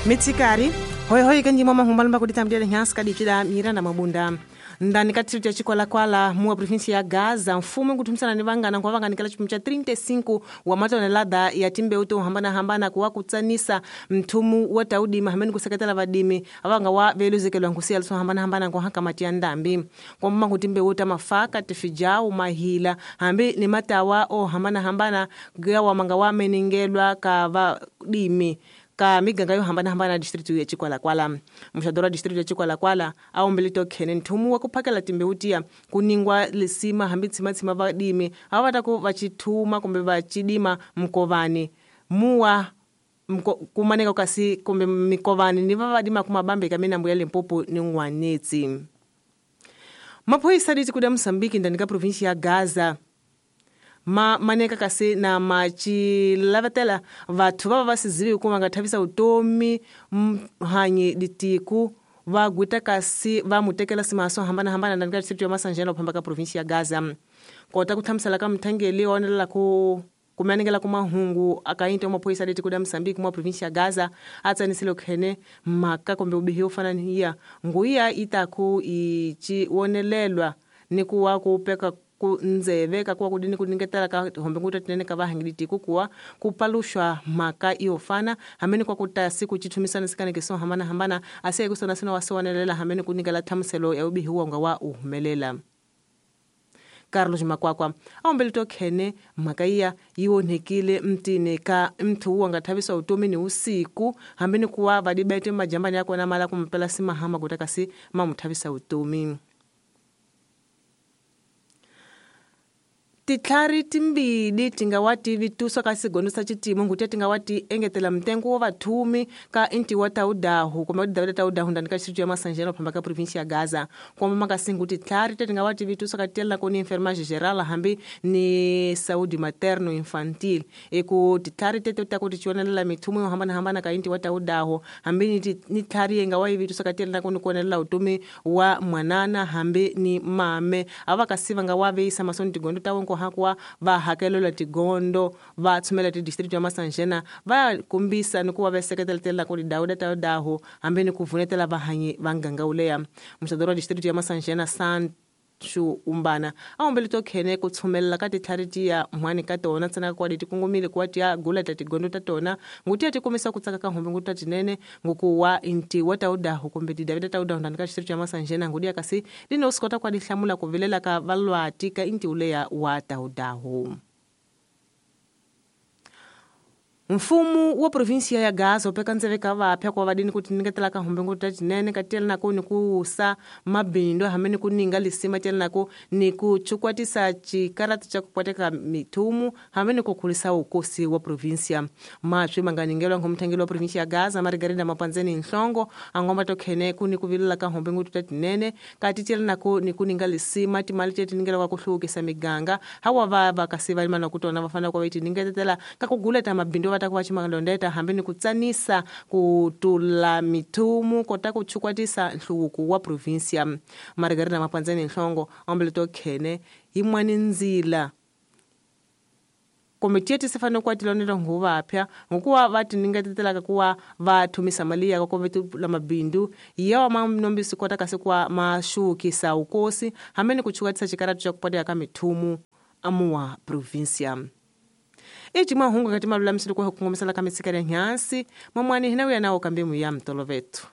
Mitsikari hoihoyi kanjima mahumbalumba kuditambulira nhansi kadicida Miranda Mabunda ndani ka distrito ya Chikwalakwala muwa província ya Gaza mfumo nkuthumisana ni vangana nkuva vanganikela chipimo cha 35 wa matonelada ya timbeu to hambanahambana kuwa kutsanisa mthumu wa taudima hamene kuseketela vadimi avanga wa veluzekelwa nkusiya swo hambanahambana nkuhanka mati ya ndambi kwamba nku timbeu ta mafaka tifijau mahila hambi ni matawa o hambanahambana gawa manga wa meningelwa ka vadimi ka miganga yo hambanahambana ya distrito ya Chikwalakwala. Muxadoro wa distrito ya Chikwalakwala a ombele tokhene nthumu wa ku phakela timbeu tiya ku ningwa lisima hambi tshimatshima vadimi a va ta ku va chithuma kumbe va chidima mkovani muwa kumaneka kasi kumbe mikovani ni va vadima kumabambe ka minambu ya Limpopo ni N'wanetsi. Maphoyisa ditiko da Mozambique ndani ka província ya Gaza ma maneka kasi na machilavetela vathu va va sizivi ku va nga thavisa vutomi mhanyi ditiku va gwita kasi va mutekela simaso hambanahambana ndani ka distrito ya Masanjena uphamba ka província ya Gaza. Kota ku hlamusela ka mthangeli wa onelela ku kumanengela ku mahungu akainto maphoyisa ditiko da Mozambique mwa província ya Gaza a tsanisile khene mhaka kumbe ubihi yo fana niya nguya itaku ichi wonelelwa ni ku wa ku peka ku ndzeve ka kuwa kudini kuningetela ka hombe nguta tinene ka vahangiliti kukuwa kupalushwa mhaka iyo fana hamene kwa kutasi kuchithumisana sikaneke so hambana hambana asiye kusona sina wasowanelela hamene kunikela thamuselo ya ubihi wonga wa uhumelela. Carlos Makwakwa aombele tokhene mhaka iya yi onhekile mtini ka mthu wa nga thavisa utomi ni usiku hambeni kuwa vadibete majambani yakona mala kumpela simahama kuta kasi mamuthavisa utomi. Titlhari timbili tinga wa ti vitusa ka sigono sa chitimo nguti tinga wa ti engetela mtengo wa vathumi ka inti wa taudahu kumbe davida taudahu ndani ka distrito ya Masanjena phamba ka província ya Gaza kwamba makasingu titlhari tinga wa ti vitusa ka tela koni enfermagem geral hambi ni saúde materno infantil eku titlhari tete ta ku tichionelela mithumo yo hambana hambana ka inti wa taudahu hambi ni tlhari yenga wa vitusa ka tela koni kuonelela utomi wa mwanana hambi ni mame ava kasiva nga wa veisa masoni tigondo tawo hakuwa va hakelela tigondo va tshumela ti distrito ya Masanjena va kombisa ni ku va veseketeletela ku dawuda ta daho hambi ni ku vunetela vahanyi va nganga uleya. Muxadoro wa distrito ya Masanjena Sanchu Umbana a ombele tokhene ku tshumelela ka titlhari tiya mhani ka tona ntsena kwa ti kongomile ku wa tiya gula ta tigondo ta tona nguti ya ti kombisa ku tsaka ka hombe nguti ta tinene nguku wa inti wa taudaho kumbe ti davida taudaho ndani ka distrito ya Masanjena ngudi ya kasi lino swi kota kwa di hlamula ku vilela ka valwati ka inti uleya wa taudaho. Mfumo wa província ya Gaza upeka ndzeve ka vapya kwa vadini ku tiningetela ka hombe nguti ta tinene ka tiyela nako ni ku usa mabindo hambi ni ku ninga lisima tiyela nako ni ku chukwatisa chikarata cha kupwateka mithumu hambi ni ku khulisa ukosi wa província. Maswi manganingelwa ngomthangeli wa província ya Gaza Margarida Mapanzeni Nhlongo angomba tokhene ku ni ku vilela ka hombe nguti ta tinene ka tiyela nako ni ku ninga lisima timali te tiningela ku hluvukisa miganga hawa va va kasi va limana ku tona va fanele ku va tiningetela ka ku guleta mabindo ta ku va chimalondeta hambi ni ku tsanisa ku tula mithumu kota ku chukwatisa nhluvuko wa província. Margarida Mapanzeni Nhlongo ombele tokhene yin'wani ndzila komiti ti fanele ku tilonela nguvapya ngokuwa va tiningetelaka ku wa va thumisa mali ya ku la mabindu ya ma nombisi kota kasi ku ma xukisa ukosi hambi ni ku chukwatisa chikarata cha kupateka ka mithumu amuwa província. Eci mahungu ngati malulamisile ku kongomisela ka mitsikela nhansi mamwani hina uya nawo kambe muya mtolovetu.